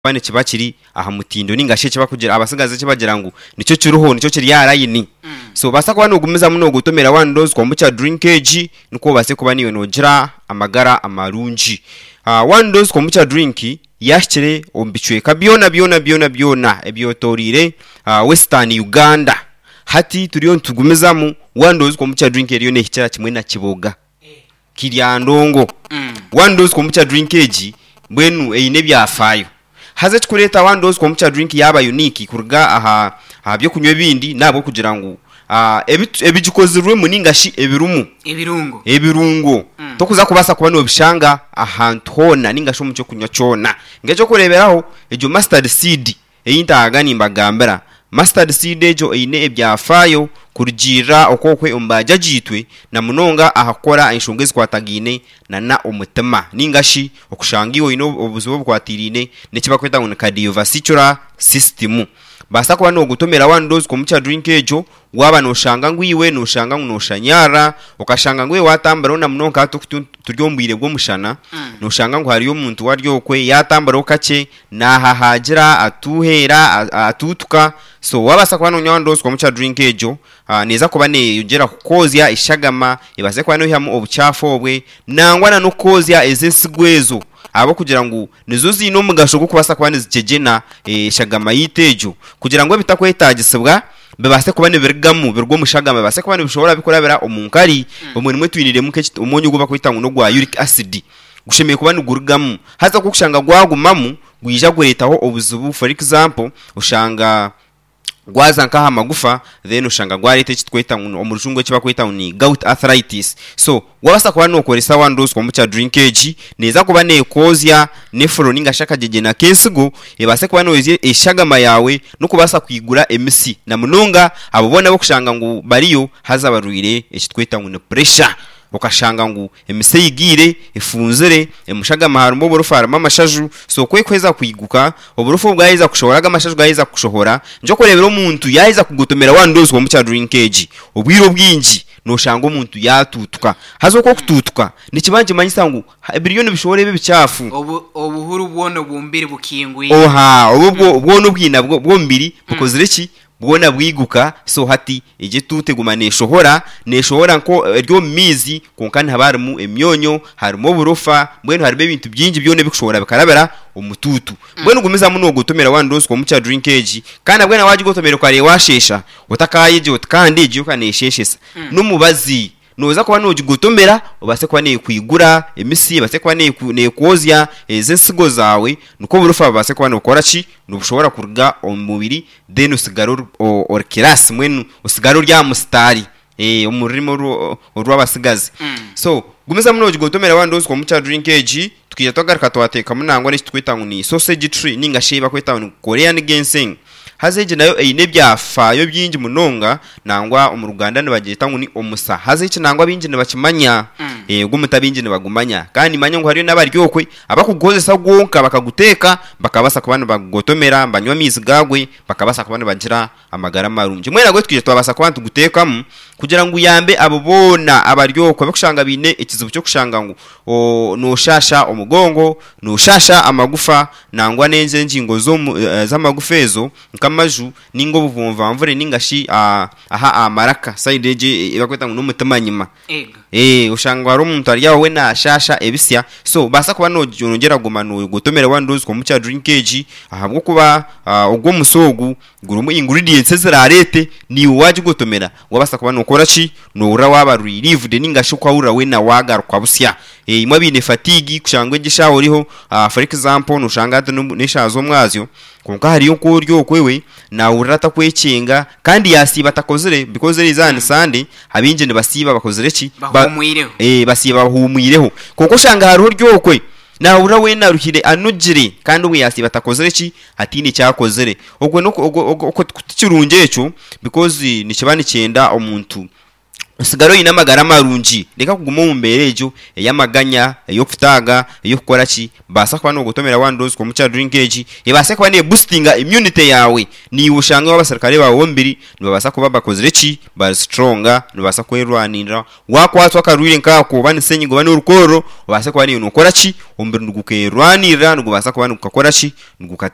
Kuba nikiba kiri aha mutindo ninga shi eki barikugira abatsigazi eki bagira ngu nikyo kiriho nikyo kiri aha layini. So obaasa kuba noogumizamu noogotomera one dose kombucha drink egi nikwo obaase kuba naiwe noogira amagara marungi. One dose kombucha drink yaahikire omu bicweka byona byona byona byona ebyetoreire Western Uganda. Hati turiyo nitugumizamu one dose kombucha drink eriyo neehikira kimwe na Kiboga. Kiryandongo. One dose kombucha drink egi mbwenu eine ebyafaayo. Haza ekikureeta one dose kombucha drink yaaba unique kuruga aha aha by'okunywa ebindi n'ahabw'okugira ngu ebigikozirwemu ninga shi ebirimu, Ebirungo. ebirungo tokuza kubaasa kuba noobishanga ahantu hoona ninga shi omu ky'okunywa kyona. Nk'eky'okureeberaho egyo mustard seed ei ntaaga nimbagambira, mustard seed egyo eine ebyafaayo kurugiirira okwokwe omu baajajaitwe na munonga aha kukora enshonga ezikwatagaine na omutima ninga shi okushanga iwe oine obuzibu obukwatiraine n'eki barikweta ngu ni cardiovascular system. Baasa kuba noogotomera one dose komukya drink egyo Waaba nooshanga ngu iwe nooshanga ngu nooshanyarara, okashanga ngu iwe waatamburaho na munonga nka hati oku turi omu bwire bw'omushana, nooshanga ngu hariyo omuntu we ari okwe, yaatamburaho kakye naahahaagira, atuuheera, atuutuka. So waabaasa kuba noonywa one dose kombucha drink egyo, neeza kuba neeyongyera kukwozya eshagama, ebaase kuba neeyihamu obucaafu obwe, nangwa na n'okwozya ezo ensigo ezo ahabw'okugira ngu nizo ziine omugasho gw'okubaasa kuba nizigyegyena eshagama yaitu egyo kugira ngu ebitakwetaagisibwa bibaase kuba nibirugamu biruga omu shagama bibaase kuba nibishohora bikurabira omu nkari. Obumwe nimwo twiniremu nk'eki omwonyo ogu barikweta ngu n'ogwa uric acid gushemereire kuba nigurugamu. Haza ku orikushanga gwagumamu gwija gureetaho obuzibu for example oshanga gwaza nk'aha magufa then oshanga gwareeta eki turikweta ngu omu rujungu eki barikweta ngu ni gout arthritis. So Wabaasa kuba nokoresa one dose kombucha drink egi, neeza kuba nekwozya nefuro ninga shi akagyegyena k'ensigo, ebaase kuba noyozya eshagama yaawe n'okubaasa kwigura emisi na munonga abo boona abokushanga ngu bariyo haza barwaire eki tweta ngu ni pressure. Okashanga ngu emisi eyigiire, efunzire, omu shagama harimu oburofa harimu amashaju, so ku ekuheza kwiguka, oburofa obu bwaheza kushohora ago amashaju gaheza kushohora, nikyo orikureebera omuntu yaheza kugotomera one dose kombucha drink egi, obwire obwingi Nooshanga omuntu yaatuutuka. Haza okwo okutuutuka nikiba nikimanyisa ngu biriyo nibishohora ebi ebicaafu. Obu obuhuru bwona obw'omubiri bukingwire. Oha, obu bwo bwona obwina bw'omubiri bukozire ki? Bwona bwiguka. So hati egyo etuutu eguma neeshohora, neeshohora nko eri omu maizi kwonka nihaba harimu emyonyo, harimu oburofa, mbwenu harimu ebintu bingi byona ebikushohora bikarabira omu tuutu. Mbwenu gumizamu noogotomera one dose komukya drink egi, kandi nabwo na waagigotomera okareeba waasheesha, Otakaayegye oti kandi egyo ka neesheeshesa. N'omubazi nooza kuba noogigotomera obaase kuba neekwigura emisi, ebaase kuba neekwozya ezo ensigo zaawe nikwo oburofa bubaase kuba nibukora ki? Nibushobora kuruga omu mubiri then osigare ori kiraasi mbwenu osigare ori aha musitaari omu rurimi orw'abatsigazi. So gumizamu noogigotomera waaba nooza omuka drink egi, tukaija twagaruka twateekamu nangwa n'eki turikweta ngu ni sausage tree nainga shi ei barikweta ngu ni Korean ginseng. Haza egi nayo eine ebyafaayo bingi munonga, nangwa omu Ruganda nibagyeta ngu ni omusa. Haza eki nangwa baingi nibakimanya, ogu omuti abaingi nibagumanya. Kandi nimanya ngu hariyo n'abari okwe abarikugukozesa gwonka bakaguteeka bakabaasa kuba nibagugotomera, nibanywa amaizi gaagwe, bakabaasa kuba nibagira amagara marungi. Mbwenu nagwe twija twabaasa kuba nituguteekamu kugira ngu guyambe abo boona abari okwe abarikushanga baine ekizibu ky'okushanga ngu nooshaasha omugongo, nooshaasha amagufa, Nangwa n'enzo engingo z'amagufa ezo, nk'amaju nainga obuvunvanvure nainga shi aha aha maraka sayidi egyo ei barikweta ngu n'omutimanyima. Oshanga hariho omuntu ari aho we naashaasha ebisya, so obaasa kuba nooyongyera kuguma noogotomera waaba nooza omuka drink egi ahabw'okuba ogu omusi ogu gurimu ingredients eziraareete naiwe waagigotomera waabaasa kuba nookora ki? Noohurira waaba relieved nainga shi okahurira weena waagaruka busya. Imwe abaine fatigue kushanga egi eshaaha oriho for example noshanga hati n'eshaaha z'omwazyo kwonka hariyo nk'ori okwe we naahurira atakwekyenga kandi yaasiiba atakozire because eriizooba ni Sunday abaingi nibasiiba bakozire ki? Bahuumwireho. Basiiba bahuumwireho kwonka oshanga hariho ori okwe naahurira weena aruhire anugire kandi obwe yaasiiba atakozire ki? Hataine eki akozire. Okwo n'oku okwo ti kirungi ekyo because nikiba nikyenda omuntu. Osigare oine amagara marungi. Reka kuguma omu mbeera egyo ey'amaganya, ey'okutaaga, ey'okukora ki. Baasa kuba noogotomera one dose kombucha drink egi, ebaase kuba neeboostinga immunity yaawe. Naiwe oshange ngu abaserukare baawe b'omubiri nibabaasa kuba bakozire ki? Bari stronger, nibabaasa kwerwanirira. Waakwatwa akarwaire nk'ako, oba ni senyiga oba n'orukoororo, obaase kuba naiwe nookora ki? Omubiri nigukeerwanirira, nigubaasa kuba nigukakora ki? Nigukate.